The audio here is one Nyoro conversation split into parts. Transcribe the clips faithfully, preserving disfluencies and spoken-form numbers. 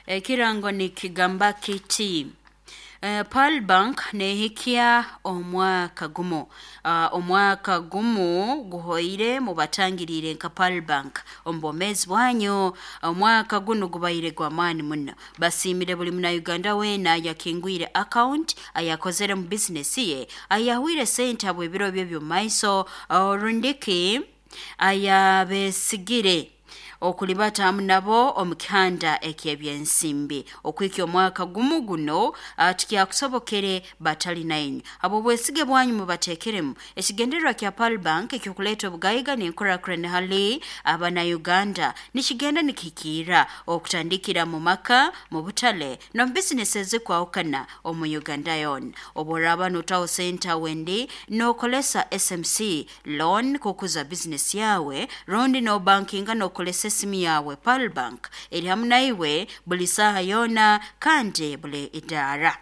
Ekirango nikigamba kiti: Uh, Pearl Bank nehikia omwaka gumu. Uh, omwaka gumu guhoire mubatangirire nka Pearl Bank omu bwomezi bwanyu. Omwaka gunu gubaire gw'amaani muno. Basiimire buli Munauganda weena ayakingwire account, ayakozere mu bizinesi ye, ayahwire sente habw'ebiro bye by'omumaiso, rundiki ayabesigire okulibata hamu nabo omu kihanda eky'ebyensimbi. Okwikya omwaka gumu guno tikyakusobokere batali nainywe. Habw'obwesige bwanyu mubateekeremu. Ekigendererwa kya Pearl Bank eky'okuleeta obugaiga n'enkurakurana hali Abanauganda nikigenda nikihikiirra, okutandikira mu maka, mu butale, n'omu bizinesi ezikwahukana omu Uganda yoona. Obu oraaba nootaho sente wendi nookolesa S M C loan kukuza bizinesi yawe, rundi noobankinga nookolesa esimu yawe, Pearl Bank eri hamu naiwe buli saaha yoona kandi buli idaara.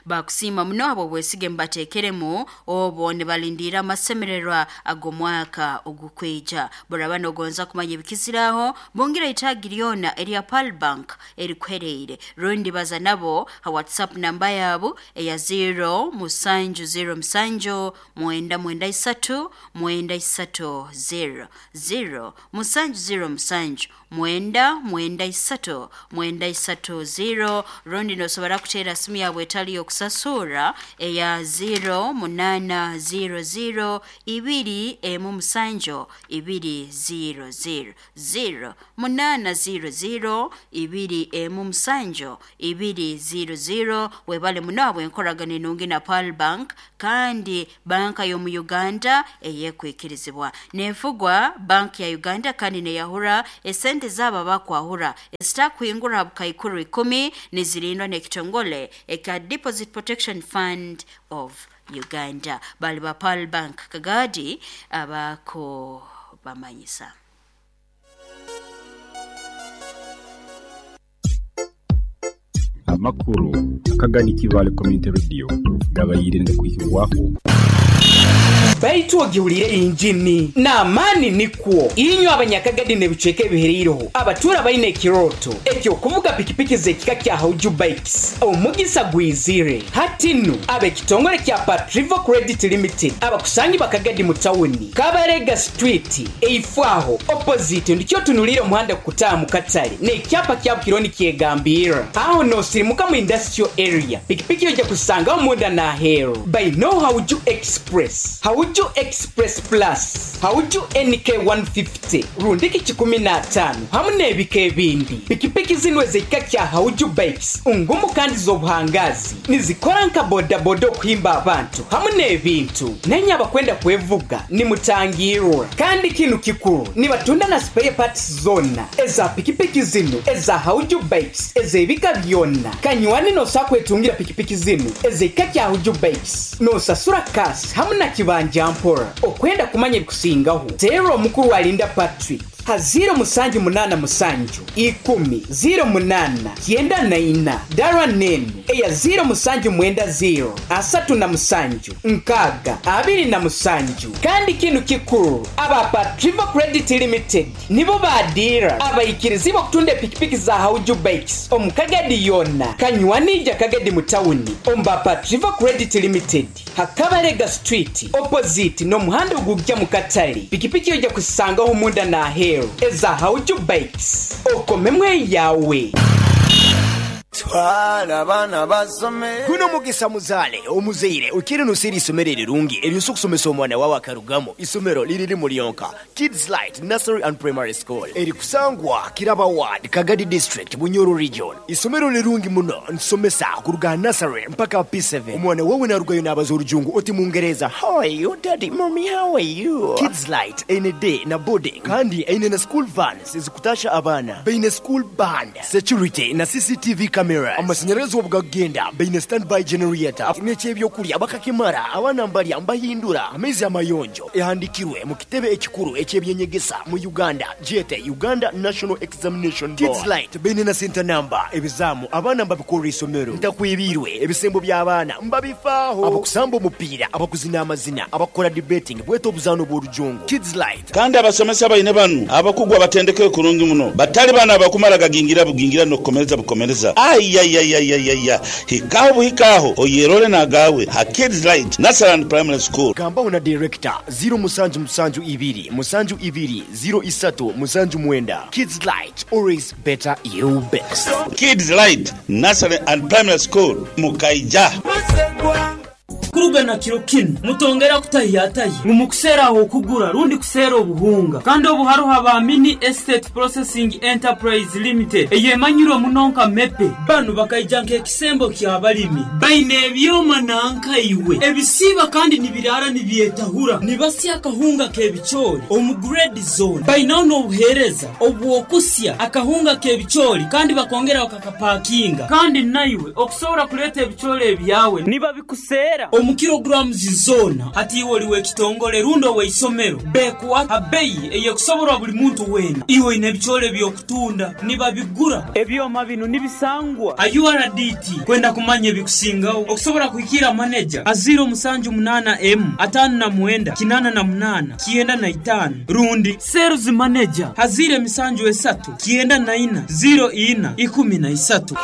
Bakusiima muno habw'obwesige mubateekeremu obwo nibalindiira amasemererwa ag'omwaka ogukwija. Buraba nogonza kumanya ebikiziraho, bungira itaagi lyona erya Pearl Bank erikuhereire, rundi baza nabo ha WhatsApp namba yabu eya zero musanju zero musanju mwenda mwenda isatu mwenda isatu zero, zero musanju zero musanju mwenda mwenda isatu mwenda isatu zero, rundi nosobora kuteera simu yabwe etali y'okusasura eya zero munaana zero zero ibiri emu musanju ibiri zero zero, zero munaana zero zero ibiri emu musanju ibiri zero zero. Webale muno habw'enkoragana enungi na Pearl Bank, kandi banka y'omu Uganda eyekwikirizibwa, neefugwa Bank ya Uganda, kandi neyahura esente zaabo abakwahura ezitakuhingura ha bukaikuru ikumi, nizirindwa n'ekitongole ekya Deposit Protection Fund of Uganda. Bali ba Pearl Bank Kagadi abako bamanyisa. Amakuru Akagani Kibale Community Radio gabayire kuhibwaho. Baitu ogihulire injini n'amaani nikwo inywe Abanyakagadi n'ebicweka ebihereireho, abatura baine ekiroto ekyokuvuga pikipiki z'ekika kya Hauju Bikes, omugisa gwizire hati nu. Ab'ekitongole kya Patrivo Credit Limited abakusangi Bakagadi mu tawuni, Kabarega Street, eifwaho opposite ndikyo tunulire omuhanda kukutaaha mu katale n'ekyapa kya Bukironi kyegambirra aho nosirimuka mu industrial area. Pikipiki ojja kusangaho munda n'aheeru baino Hauju Express, Hauju Express Plus, Hauju N K one fifty rundiki kikumi n'ataano hamu n'ebika ebindi. Pikipiki zinu ez'ekika kya Hauju Bikes ngumu kandi z'obuhangazi, nizikora nka bodaboda okuhimba abantu hamu n'ebintu. Nenye abakwenda kwevuga nimutangirwa. Kandi kinu kikuru, nibatunda na spare parts zona eza pikipiki zinu eza Hauju Bikes ez'ebika byonna. Kanywani, nosobola kwetungira pikipiki zinu ez'ekika kya Hauju Bikes nosasura cash hamu na kibanja mpora. Okwenda kumanya ebikusingaho, teera omukuru Alinda Patrick ha zero musanju munaana musanju ikumi zero munaana kyenda na ina, dara nenu eya zero musanju mwenda zero asatu na musanju nkaaga abiri na musanju. Kandi kinu kikuru, aba Patrivo Credit Limited nibo badira abayikirizibwa okutunda epikipiki za Hauju Bikes omu Kagadi yonna. Kanywanija Kagadi mu tawuni omu ba Patrivo Credit Limited, Hakabarega Street, opposite n'omuhanda ogujja mu katale. Pikipiki ojja kusangaho munda n'aheeru eza Hauju Bikes, okomemu eyawe. Twala abaana basome. Guno mugisa muzaale omuzaire okire nosera isomero erirungi eryosa okusomesa omwana wawe akarugamu. Isomero liriri mulyonka, Kids Light Nursery and Primary School, erikusangwa Kiraba Ward, Kagadi District, Bunyoro Region. Isomero lirungi muno, nsomesa kuruga nursery mpaka P seven. Omwana wawe narugayo nabaza orujungu oti Mungereza, "How are you, daddy, mommy, how are you?" Kids Light eine day na boarding, kandi eine na school vans ezikutasha abaana, baine school band, security na C C T V cameras. cameras. Amasanyarazi obugagenda baine standby generator n'ekyebyokulya bakakimara abaana mbalya mbahindura amaizi amayonjo ehandikirwe mu kitebe ekikuru ekyebyenyegesa mu Uganda jete Uganda National Examination Board. Kids Light baine na center number ebizamu abaana mbabikorera isomero ntakwibirwe ebisembo by'abaana mbabifaaho abakusamba omupiira abakuzina amazina abakora debating bweta obuzaano bw'orujungu. Kids Light Kandi abasomesa baine banu abakugwa batendeke kurungi muno batali bana abakumara gagingira bugingira nokukomereza bukomereza ayayayayaya hikaho buhikaho oyerole nagawe ha Kids Light Nursery and Primary School. Gambaho na director zero musanju musanju ibiri musanju ibiri zero isatu musanju mwenda. Kids Light, always better you best. Kids Light Nursery and Primary School Mukaija. Kurugana kiro kinu mutongera kutahiyatayi mumukuseera aho okugura rundi kuseera obuhunga kandi obu haruho ba Mini Estate Processing Enterprise Limited eyemanyirwe muno nka mepe banu bakaija nk'ekisembo ky'abalimi baine ebyoma nankaiwe ebisiiba kandi nibirara nibyetahura nibasya akahunga k'ebicoori omu grade zone bainaho n'obuheereza obw'okusya akahunga k'ebicoori kandi bakongera bakakapakinga kandi naiwe okusobora kuleeta ebicoori ebyawe nibabikuseera omu kilograms zona hati iwe oliwe ekitongole rundi oweisomero bekuwa abeyi eyekusoborwa buli muntu wena iwe oine ebicoori ebyokutunda nibabigura ebyoma bino nibisangwa a U R D T kwenda kumanya ebikusingaho okusobora kuhikira maneja a zero musanju munana m atano na mwenda kinana na munana kienda na itano rundi sales manager hazire misanju esatu kienda na ina zero ina ikumi na isatu.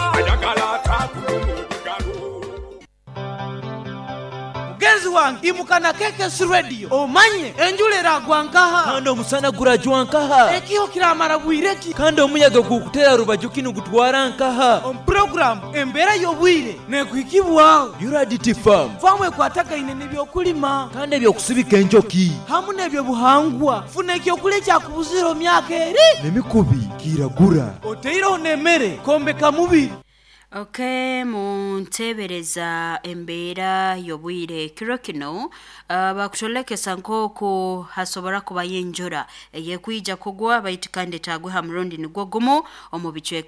Mugenzi wange imukana K K S Radio omanye enjura eragwa nkaha kandi omusana gurajwa nkaha ekiho kiramara bwireki kandi omuyaga gukutera rubaju kinu gutwara nkaha omu program embeera y'obwire nekuhikibwaho U R D T Farm famu ekwatagaine n'ebyokulima kandi ebyokusibika enjoki hamu n'ebyobuhangwa funa ekyokulya ekyakubuzira myaka eri n'emikubi kiragura oteireho n'emmere kombeka mubiri. Okay, muntebereza embeera y'obwire kiro kino uh, bakutolekesa nk'oku hasobora kuba yenjura eyekwija kugwa baitu kandi etagwe ha murundi nigwo gumu omu bicweka.